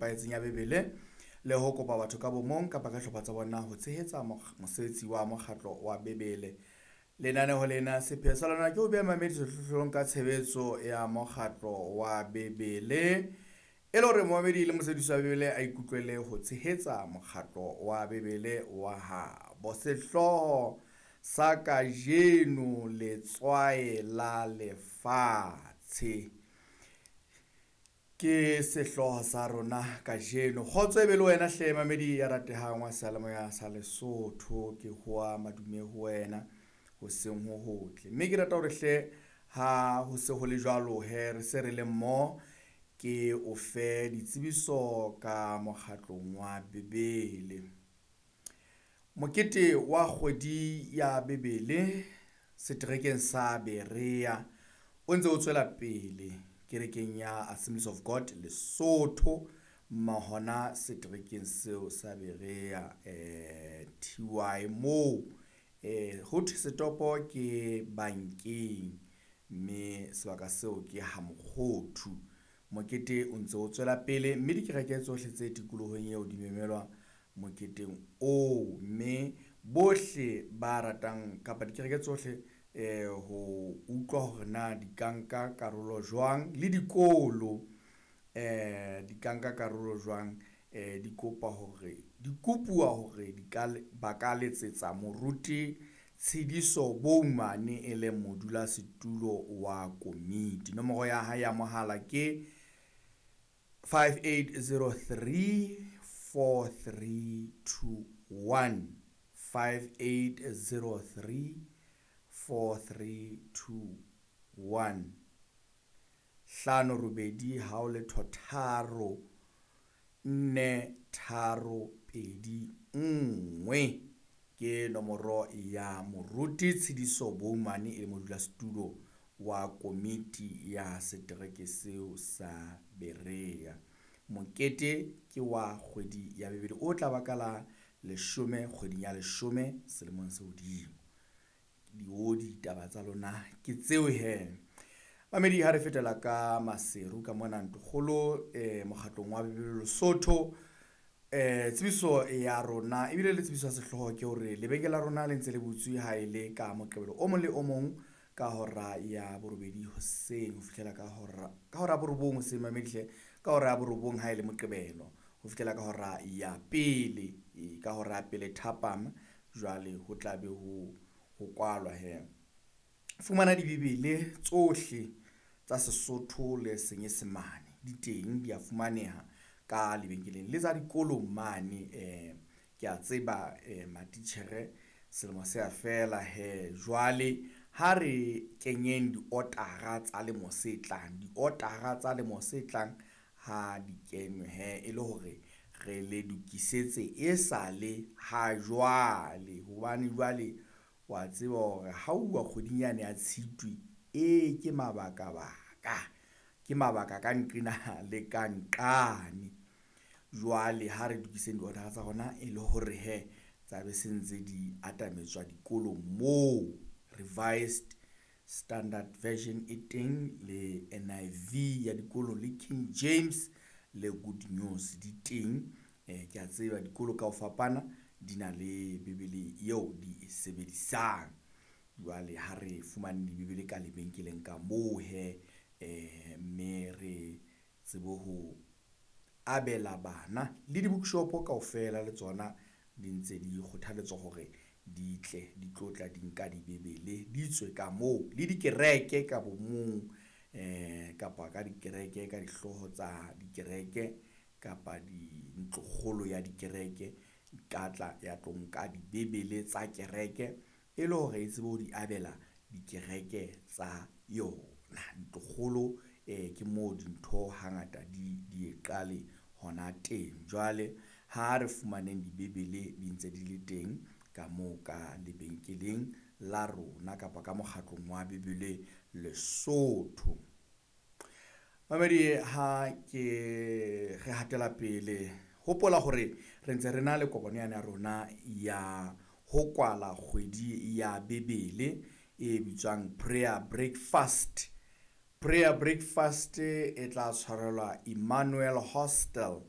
Nepahetseng ya Bibele le ho kopa batho ka bomong kapa ka hlopha tsa bona ho tshehetsa mosebetsi wa mokgatlo wa Bibele. Lenaneho lena sepheo sa lona ke ho beha mamedi sehlohlolong ka tshebetso ya mokgatlo wa Bibele, e le hore momamedi le mosebedisi wa Bibele a ikutlwele ho tshehetsa mokgatlo wa Bibele wa habo. Sehlooho sa kajeno, letswae la lefatshe, ke sehlooho sa rona kajeno. Kgotso e be le wena hle mamedi ya ratehang wa seyalemoya sa Lesotho. Ke hoa madume ho wena, hoseng ho hotle. Mme ke rata hore hle ha ho se ho le jwalo he, re se re le mmoho, ke o fe ditsebiso ka mokgatlong wa Bibele. Mokete wa kgwedi ya Bibele seterekeng sa Berea o ntse o tswela pele kerekeng ya Assemblies of God Lesotho, mahona seterekeng seo sa Berea TY moo ho thwe setopo ke bankeng, mme sebaka seo ke ha Mokgothu. Mokete o ntse o tswela pele, mme dikereke tsohle tse tikolohong eo di memelwa moketeng oo, mme bohle ba ratang kapa dikereke tsohle ho utlwa hore na di ka nka karolo jwang, le dikolo di ka nka karolo jwang, di kopa hore di kopuwa hore di ka ba ka letsetsa moruti Tshidiso Boumane e leng modulasetulo wa komiti. Nomoro ya hae ya mohala ke 5803 4321, 5803 4321, 58 03 4 3 2 1 ke nomoro ya moruti Tshidiso Boumane e le modulasetulo wa komiti ya setereke seo sa Berea. Mokete ke wa kgwedi ya Bibele o tla ba ka la 10 kgweding ya 10 selemong se hodimo. Ditaba tsa lona ke tseo he. Mamedi, ha re fetela ka Maseru ka mona ntlokgolo mokgatlong wa Bibele Lesotho, tsebiso ya rona ebile le tsebiso ya sehlooho ke hore lebenkele la rona le ntse le butswe ha e le ka Moqebelo o mong le o mong ka hora ya 8 hoseng ho fihlela ka hora ya 9 hoseng, mamedi hle, ka hora ya 9 ha e le Moqebelo ho fihlela ka hora ya 1, ka hora ya 1 thapama. Jwale ho tla be ho kwalwa he. Fumana dibibele tsohle tsa Sesotho le Senyesemane di teng, di a fumaneha ka lebenkeleng le tsa dikolong mane. Ke a tseba matitjhere selemo se a fela he, jwale ha re kenyeng diotara tsa lemo se tlang, diotara tsa lemo se tlang ha di kenwe he, e le hore re le lokisetse e sale ha jwale, hobane jwale wa tseba hore ha uwa kgweding yane ya Tshitwe, e ke mabaka baka, ke mabaka ka nqena le ka nqane. Jwale ha re lokiseng diorder tsa rona e le hore he tsa be se ntse di atametswa dikolong moo. Revised Standard Version e teng, le NIV ya dikolo, le King James le Good News di teng. Ke a tseba dikolo ka ho fapana di na le Bibele eo di e sebedisang. Jwale ha re fumane dibibele ka lebenkeleng ka moo he, mme re tsebe ho abela bana le di-bookshop kaofela le tsona di ntse di kgothaletswa hore di tle di tlo tla di nka dibibele di tswe ka moo, le dikereke ka bomong kapa ka dikereke, ka dihlooho tsa dikereke kapa dintlokgolo ya dikereke ka tla ya tlo nka dibibele tsa kereke e le hore e tsebe ho di abela dikereke tsa yona. Ntlokgolo ke moo dintho hangata di qale hona teng. Jwale ha re fumaneng dibibele di ntse di le teng ka moo ka lebenkeleng la rona kapa ka mokgatlong wa Bibele Lesotho. Mamedi, ha ke re hatela pele, hopola hore re ntse re na le kopano yane ya rona ya ho kwala kgwedi ya Bibele e bitswang Prayer Breakfast. Prayer Breakfast e tla tshwarelwa Emmanuel Hostel.